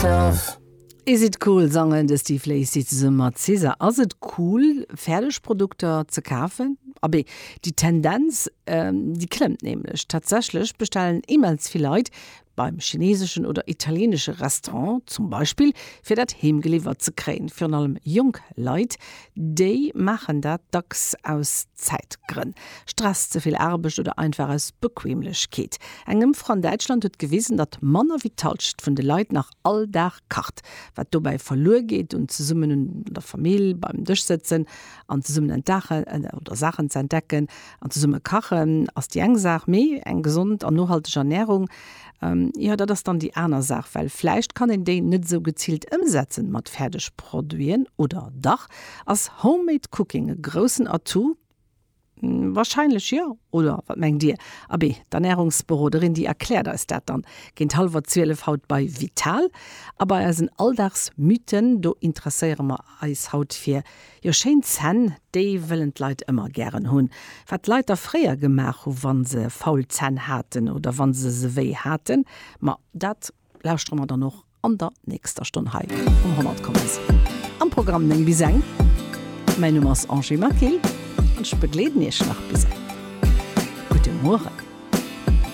Myself. Is it cool sangen de Steve Lacy zesumme mat SZA. Ass et cool Fäerdegprodukter ze kafen? Abee, déi Tendenz déi klëmmt nämlech. Tatsächlech bestellen immens vill Leit beim chineseschen oder italienesche Restaurant zum Beispill, fir dat heem geliwwert ze kréien. Virun allem jonk Leit, déi maachen dat dacks aus Zäitgrënn, Stress, ze vill Aarbecht oder einfach aus Bequemlechkeet. Eng Ëmfro an Däitschland huet gewisen, datt manner wéi d'Hallschent vun de Leit nach all Dag kacht. Wat dobäi verluer geet un zesummen un der Famill beim Dësch sëtzen an zesummen entdachen oder Saachen ze entdecken an zesumme kachen ass déi eng Saach, mee eng gesond an nohalteg Ernärung, jo dat ass dann déi aner Saach, well vläicht kann een déi net esou geziilt ëmsetzen mat Fäerdegproduiten, oder dach? Ass Homemade Cooking e groussen Atout? Wahrscheinlech jo, oder wat mengt Dir? Abee, d'Ernärungsberoderin, déi erkläert eis dat dann géint hallwer 12 haut bei Vital. A bei eisen Alldagsmythen, do interesséiere mer eis haut fir, jo, schéin Zänn, déi wëllen d'Leit ëmmer gären hunn. Wat d'Leit da fréier gemaach hu wa se faul Zänn haten oder wa se se wéi haten, ma dat lauschtere mer dann och an der nächster Stonn hei um 100,7 am Programm 9 bis eng. Mäin Numm ass Angie Maquil an ech begleeden Iech nach bis eng. Gudde Mueren.